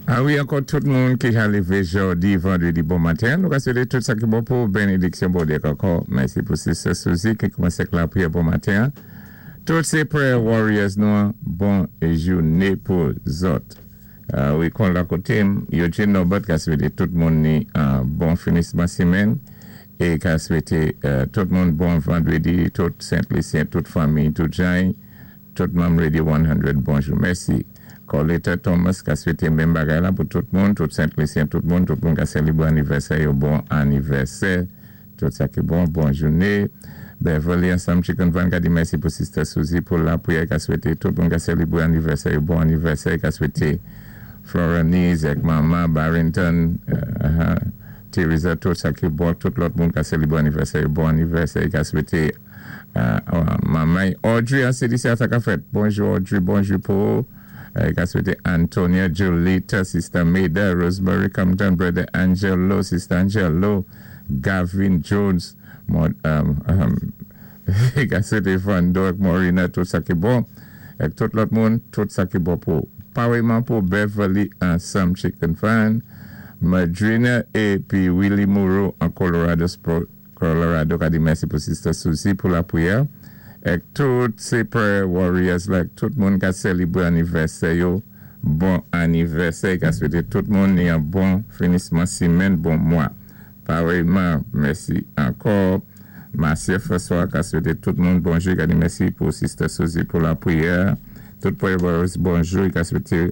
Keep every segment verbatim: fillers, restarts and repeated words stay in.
A wi, ankò tout moun ki ka lévé jòdi, vandwédi bon maten. Nou ka swété tout sa ki bon pou bénédiksyon Bondyé ankò. Mèsi pou Sister Suzy ki koumansé ak lapriyè bon maten. Tout sé prayer warriors nou, bon jouné pou zòt. Uh, wi, kon la koté, Eugene Norbert ka swété tout moun ni an bon finisman simenn é ka swété uh, tout moun bon vandwédi, tout Sent-Lisyen, tout fanmi, tout jan, tout manm Radio san, bonjou, mèsi. Coletta Thomas ka swété menm bagay la pou tout moun, tout Sent-Lisyen, tout moun, tout moun ka sélébwé anivèsè, yo bon anivèsè, tout sa ki bon, bon jouné. Beverly ansanm Chicken Van ka di mèsi pou Sister Suzy pou lapriyè, ka swété tout moun ka sélébwé anivèsè, yo bon anivèsè, ka swété Florenise ak Mama Barrington, uh, Teresa, tout sa ki bon, tout lòt moun ka sélébwé anivèsè, yo bon anivèsè, ka swété uh, uh, Mama Audrey, an sé di sa ka fèt. Bonjou Audrey, bonjou pou uh, ka swété Antonia, Julita, Sister Maida, Rosemary Compton, Brother Angelo, Sister Angelo, Gavin Jones, Mon, um, um, ka swété Vando ak Morina, tout sa ki bon, ak tout lòt moun, tout sa ki bon pou parèyman pou Beverly ansanm Chicken Fan, Madrina épi Willie Moreau an Colorado, Colorado ka di mèsi pou Sister Suzy pou lapriyè, ak tout sé prayer warriors la, tout moun ka sélébwé anivèsè yo, bon anivèsè, ka swété tout moun ni an bon finisman simenn, bon mwa. Parèyman, mèsi ankò. Marcia François ka swété tout moun bonjou, ka di mèsi pou Sister Suzy pou lapriyè. Tout prayer warriors, bonjou, ka swété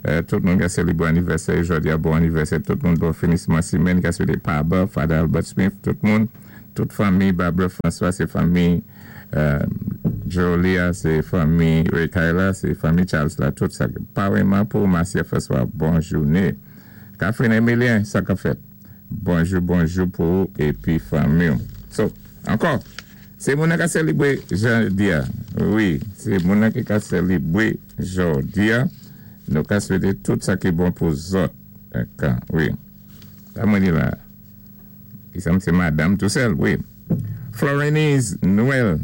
euh, tout moun ka sélébwé anivèsè, jòdi a bon anivèsè, tout moun bon finisman simenn, ka swété Paba, Father Albert Smith, tout moun, tout fanmi Barbara François, sé fanmi euh, Jolia, sé fanmi Ray Kyla, sé fanmi Charles la, tout sa. Parèyman pou Marcia François, bon jouné. Catherine Emilien, sa ka fèt. Bonjou, bonjou pou épi fanmi. So, ankò, sé moun ka sélébwé jòdi a. Wi, sé moun ki ka sélébwé jòdi a. Nou ka swété tout sa ki bon pou zòt. Dakò, wi. Sa mwen di la. Ki sa sé madanm tou sèl, wi. Florenise Noël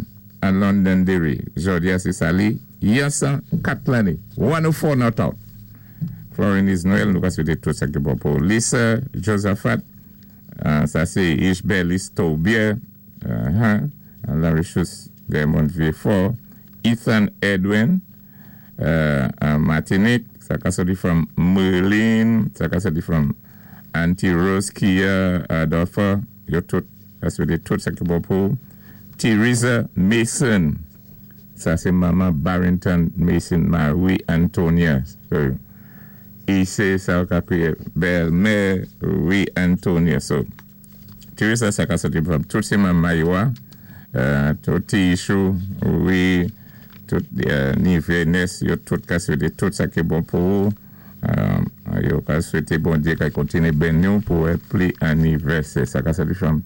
an Londonderry. Jòdi a sé sa li. Yon kat lanné. one oh four not out. Florenise Noël, nou ka swété tout sa ki bon pou Lisa Josaphat. Uh, sa sé Ishbelis Tobier. Uh -huh. Larry Schultz, Raymond Vieux-Fort. Ethan Edwin. Uh, uh, Martinique. Sa ka soti from Merlin. Sa ka soti from Auntie Rose Kia Adolpha. Yo tout, ka swété tout sa ki bon pou Teresa Mason. Sa sé manman Barrington Mason, Marie Antonia. So, i sé sa ka kwiyé bèlmè Marie Antonia. So, Teresa sa ka soti from tout sé manman yo a, uh, tout Tishu, wi, tout uh, Nivenes, yo tout ka swété tout sa ki bon pou um, yo ka swété Bondyé ka kontiné béni nou pou pli anivèsè. Sa ka soti from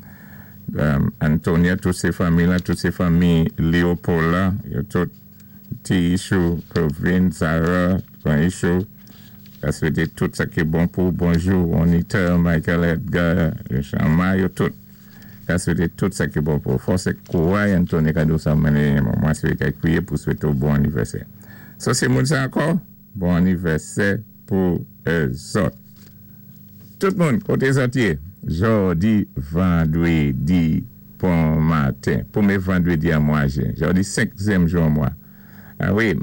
um, Antonia, tout sé fanmi la, tout sé fanmi Léopold la, yo tout Tishu, Provin, Zara, Ishu, ka swété tout sa ki bon pou bonjou, Onita, Michael Edgar, Chama, yo tout. Ka swété tout sa ki bon pou fòs é kouray Anthony kado sa mennen mwen swété kwiyé pou swété bon anivèsè. So sé moun sa ankò, bon anivèsè pou zòt. Tout moun, koté zòt yé, jòdi, vandwédi, bon maten. Pwémyé vandwédi an mwa jen. Jòdi senkyèm jou an mwa. A wi,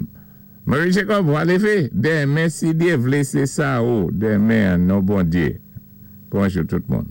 Marie Jacob, va lévé. Denmen, si Dyé vlé, sé sa ou. Denmen, non Bondyé. Bonjou tout moun.